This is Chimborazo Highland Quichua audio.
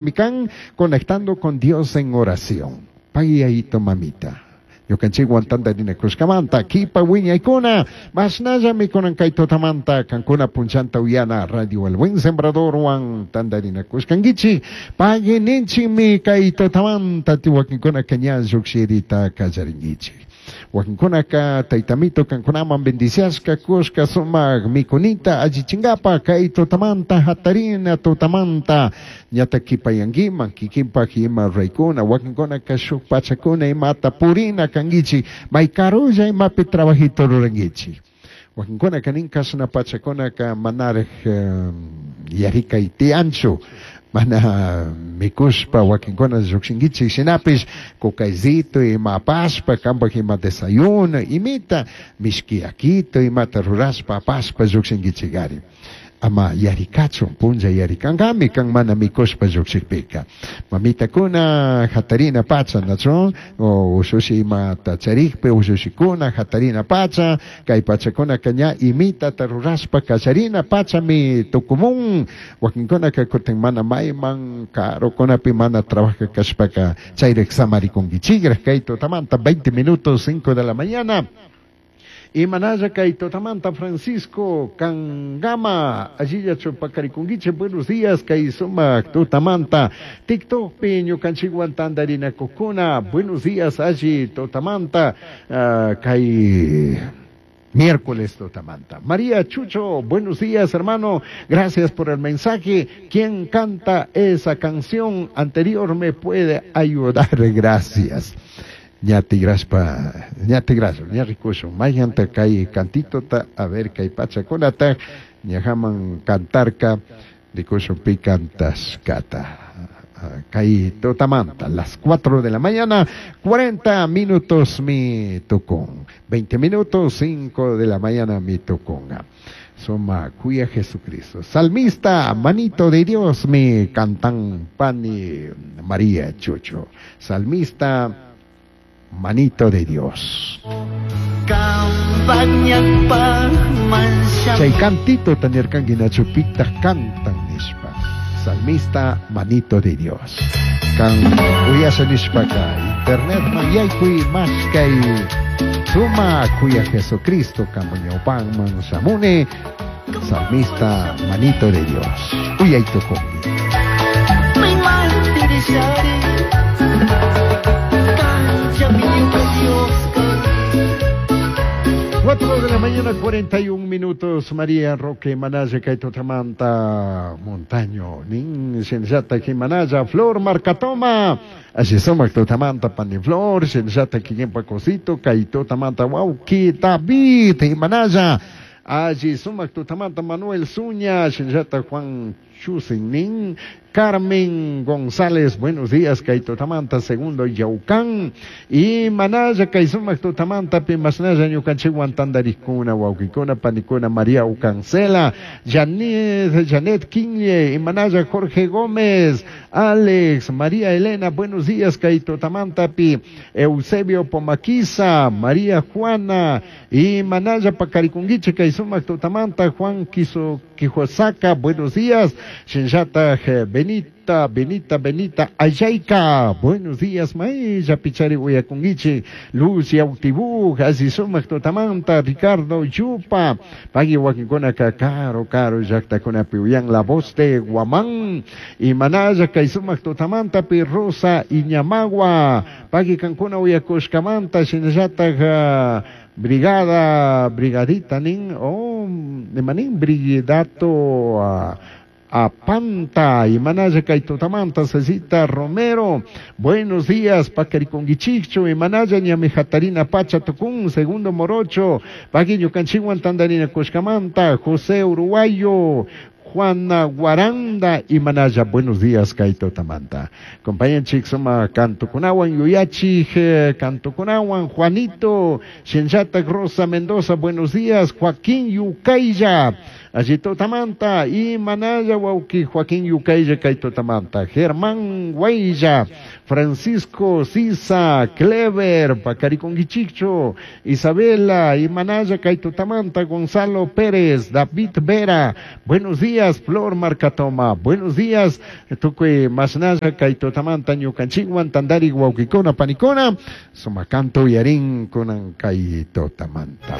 Mikan conectando con Dios en oración. Pagui mamita. Ñukanchikwan tantarinakushkamanta kipa wiñaykuna mashnallami kunan kay tutamanta kankuna punchanta uyana Radio El Buen Sembradorwan tantarinakushkankichik pagui ninchikmi kay tutamanta wakinkunaka ña llukshirita kallarinkichik. Wakinkunaka taytamito kankunaman bendiciashka kushka sumak mikunita allichinkapa kay tutamanta hatarina tutamanta ñata kipayankiman kikinpak ima ruraykuna wakinkunaka shuk pachakuna imata purina kankichik may karulla imapi trabajito rurankichik. Wakinkunaka nin kashna pachakunaka manarik yarikay tiyanchu mana mikushpa wakinkuna llukshinkichik shinapish kukaysito ima apashpa kampak ima desayuno imita mishki yakito imata rurashpa apashpa llukshinkichikari. Ama yarikachun punlla yarikankami kan mana mikushpa llukshikpika. Mamitakuna hatarina pacha nachu o ushushi imata charikpi ushushikuna hatarina pacha kay pachakunaka ña imitata rurashpa kallarina pachami tukumun wakinkunaka kutin mana mayman karukunapi mana trabaja kashpaka chayrik samarikunkichikrak kay tutamanta 20 minutos 5 de la mañana. Y manaya kay tutamanta Francisco Kangama, allilla chupakarikunkichik, buenos días, kay sumak tutamanta, TikTok ñukanchikwan tantarinakukuna, buenos días, alli tutamanta, kay miércoles tutamanta. María Chucho, buenos días, hermano, gracias por el mensaje. ¿Quién canta esa canción anterior me puede ayudar? Gracias. Ña tigrashpa, ña tigrashpa, ña rikushun, mayhanta kay cantitota, a ver kay pachakunata, ñajaman cantarka, rikushun pi cantashkata. Kay tutamanta, las 4 de la mañana, 40 minutos mi tukun, 20 minutos, 5 de la mañana mi tukunga. Suma cuya Jesucristo. Salmista, manito de Dios, mi cantan pani María Chucho. Salmista, manito de Dios. Chay cantito tanirkanki nachupita cantan nishpa. Salmista, manito de Dios. Kan uyasha nishpaka internet man yaykui mashkay suma kuya Jesucristo kamuñawpanman shamuni. Salmista, manito de Dios. Uyaytukunki. 4 de la mañana, 41 minutos, María Roque Manaya, Kaitotamanta, Montaño, Nin, Shenjata, Jimanaya, Flor Marcatoma, así somos Totamanta, Paniflor, Shenjata, Quimpa Cosito, Kaitotamanta, Wauki, David, Jimanaya, allí sumak Totamanta, Manuel Zuña, Shenjata, Juan Chusin, Carmen González, buenos días, Kaitotamanta, segundo Yaucán, y Manaya, Kaisumak Totamanta, Pimasnaya, Ñukanchiwan, Tandarikuna, Wauquicuna, Panicuna, María Ucancela, Janet, Janet Quinle, y Manaya, Jorge Gómez, Alex, María Elena, buenos días, Kaitotamanta, Pi, Eusebio Pomaquiza, María Juana, y Manaya, Pacaricunguiche, Kaisumak Totamanta, Juan Quiso, Quijosaca, buenos días, Shinjata, Benita, Benita, Benita, Ayayka, buenos días, Maella, Pichari, Uyakunguiche, Lucia, Autibú, Azizumak, Totamanta, Ricardo, Yupa, Pagui, Wakinkuna, Caro, Caro, Yactacuna, Piuyan, La Voz de Guamán, y Manaya, Kaizumak, Totamanta, Pirrosa, Iñamagua, Pagui, Cancuna, Uyakushkamanta, Shinjata, Brigada, Brigadita, nin, oh, manin, Brigidato, Apanta, y Manaya Kaitotamanta, Cecita Romero, buenos días, Pacariconguichicho, y Manaya Ñamijatarina Pacha Tucún, segundo Morocho, Paguiño Canchihuan Tandarina Coscamanta, José Uruguayo, Juana Guaranda y Manaya, buenos días, Kaitotamanta. Compañen Chixoma, Cantucunawan, Yuyachi, Cantucunawan, Juanito, Shenchata Rosa Mendoza, buenos días, Joaquín Yucaya. Alli tutamanta imanalla wawki Joaquín Yukaylla kay tutamanta. Germán Guaylla, Francisco Sisa, Clever, Pacariconguichicho, Isabela, Imanaya kay tutamanta, Gonzalo Pérez, David Vera, buenos días, Flor Marcatoma, buenos días, tukuy masnalla kay tutamanta ñukanchikwan tandari wawkikuna panikuna, sumakanto uyarin kunan kay tutamanta.